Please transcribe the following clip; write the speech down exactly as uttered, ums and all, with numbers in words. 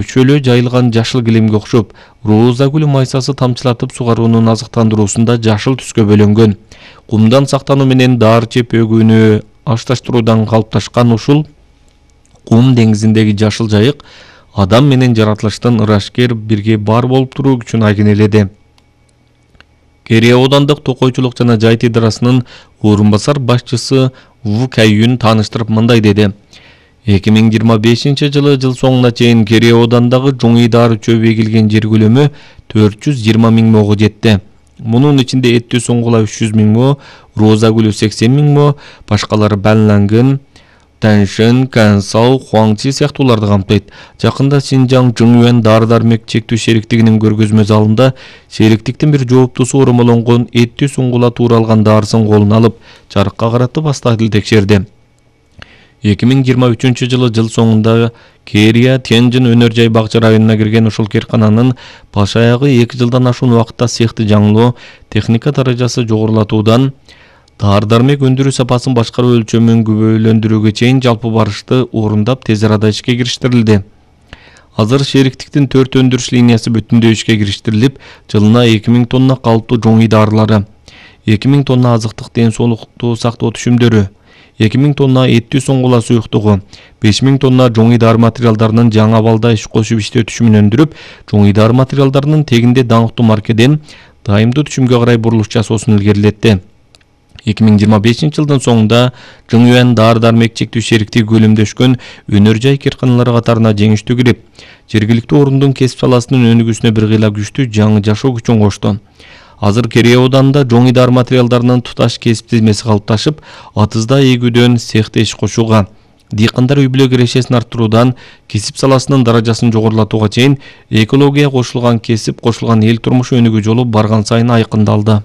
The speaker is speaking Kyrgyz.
Чөлө жайылган жашыл килемге окшоп, роза гүлү майсасы тамчылатып сугаруунун азыктандыруусунда жашыл түскө бөлөнгөн. Кумдан сактануу менен даар чеп өгүүнү ашташтыруудан калыпташкан ушул кум деңизиндеги жашыл жайык адам менен жаратылыштын ырашкер бирге бар болуп туруу күчүн айгинеледи. Кере оодандык токойчулук жана жайыт идарасынын орун басар башчысы Ву Кайюн тааныштырып мындай деди. эки миң жыйырма бешинчи жылы жыл соңуна чейин Кере оодандагы жоңий даары чөбү эгилген жер көлөмү төрт жүз жыйырма миң мого жетти. Мунун ичинде эттүү суңгула үч жүз миң мо, роза гүлү сексен миң мо, башкалары Банлангын, Таншын, Кансау, Хуаңчи сыяктууларды камтыйт. Жакында Синжаң Жыңюэн дары-дармек чектүү шериктигинин көргөзмө залында шериктиктин бир жооптусу оромолонгон эттүү суңгула тууралган даарысын колуна алып, жарыкка каратып астахил текшерди. эки миң жыйырма үчүнчү жылы жыл соңунда Керия Тянжин өнөр жай бакча районуна кирген ушул керкананын баш аягы эки жылдан ашуун убакытта цехти жаңылоо, техника даражасы жогорулатуудан даар-дармек өндүрүү сапасын башкаруу өлчөмүн күбөлөндүрүүгө чейин жалпы барышты орундап тез арада ишке кириштирилди. Азыр шериктиктин төрт өндүрүш линиясы бүтүндөй ишке кириштирилип, жылына эки миң тонна калыптуу жоңий даарылары, эки миң тонна азыктык ден соолукту сактоо түшүмдөрү, эки миң тонна эттүү суңгула суюктугу, беш миң тонна жоңий дары материалдарынын жаңы абалда иш кошуп иштөө түшүмүн өндүрүп, жоңий дары материалдарынын тегинде даңктуу маркеден дайымдуу түшүмгө карай бурулуш жасоосун илгерилетти. эки миң жыйырма бешинчи жылдын соңунда Жыңюэн дары-дармек чектүү шериктиги көлөмдөшкөн өнөр жай керканалары катарына жеңиштүү кирип, жергиликтүү орундун кесип саласынын өнүгүүсүнө бир кыйла күчтүү жаңы жашоо күчүн кошту. Азыр Кере ооданда жоңий дары материалдарынын туташ кесип тизмеси калыпташып, атызда эгүүдөн цехте иш кошууга, дыйкандар үй бүлө кирешесин арттыруудан кесип саласынын даражасын жогорулатууга чейин экологияга кошулган кесип, кошулган эл турмушу өнүгүү жолу барган сайын айкындалды.